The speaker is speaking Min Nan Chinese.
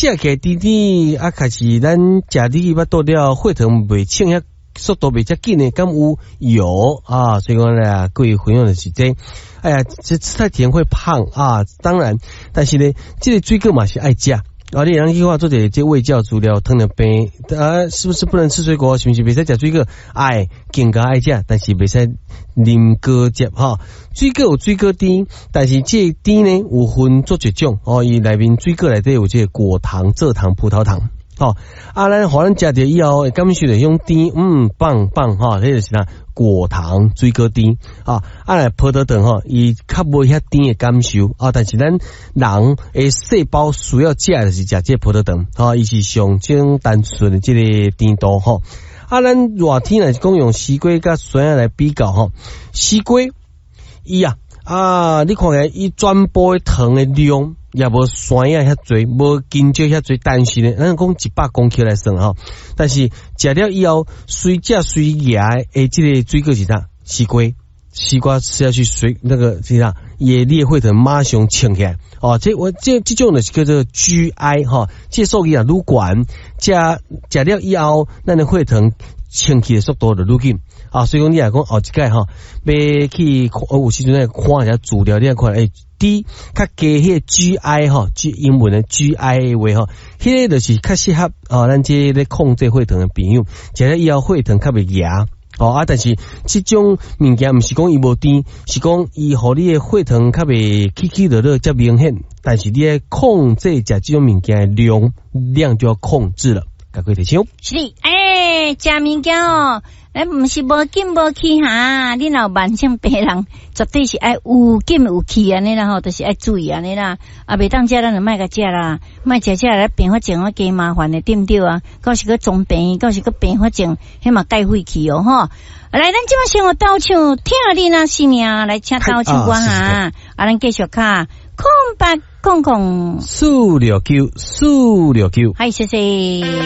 食起來甜甜啊，開始咱食入去腹肚了，血糖袂升遐速度袂遮緊的，敢有有啊？所以講咧，各位朋友就是這，哎呀，這吃太甜會胖啊。當然，但是呢，這个水果嘛是愛食。啊，你通去看做一个這衛教資料，糖尿病啊，是不是不能吃水果？是毋是袂使食水果？愛，更加愛食，但是袂使啉果汁吼。水果有水果甜，但是這個甜呢有分做幾種哦。伊內面水果內底有這個果糖、蔗糖、葡萄糖。吼，啊，咱予咱食著以後會感受著彼種甜，棒棒吼，彼就是啥果糖水果甜啊，啊來葡萄糖吼，伊較無遐甜的感受啊，但是咱人的細胞需要食的就是食這個葡萄糖，吼，伊是上種單純的這個甜度吼。啊，咱熱天若是講用西瓜佮酸仔來比較吼，西瓜伊啊啊，你看起來伊全部的糖的量也無酸仔遐濟，無香蕉遐濟，但是呢，咱講100公克來算吼，但是食了以後，隨食隨額的這個水果是啥？西瓜，西瓜吃下去隨那個是啥？伊的你的血糖馬上衝起來，哦，這我這這種就是叫做 GI 吼，這數字啊愈懸，食食了以後，咱的血糖升起的速度就愈緊啊，所以講你若講後一擺吼，欲去有時陣來看一下資料，你來看欸，低較低彼個 GI 吼，G 英文的 GI 的話吼，彼个就是較適合哦，咱這咧控制血糖的朋友，食了以後血糖較袂額哦啊，但是這種物件毋是講伊無甜，是講伊予你的血糖較袂起起落落遮明顯，但是你愛控制食這種物件的量量就要控制了，趕快提醒。是的，欸，食物件哦，咱毋是無緊無去哈，你若有慢性病人，絕對是愛有緊有去按呢啦吼，就是愛注意按呢啦。啊，袂當食，咱就莫共食啦，莫食食來併發症啊，加麻煩的，對毋對啊？到時閣裝病，到時閣併發症，彼嘛蓋廢去哦吼。來，咱這擺先予鬥唱疼你若性命，來請鬥唱歌哈。啊，咱繼續敲0800 469 469。嗨，謝謝。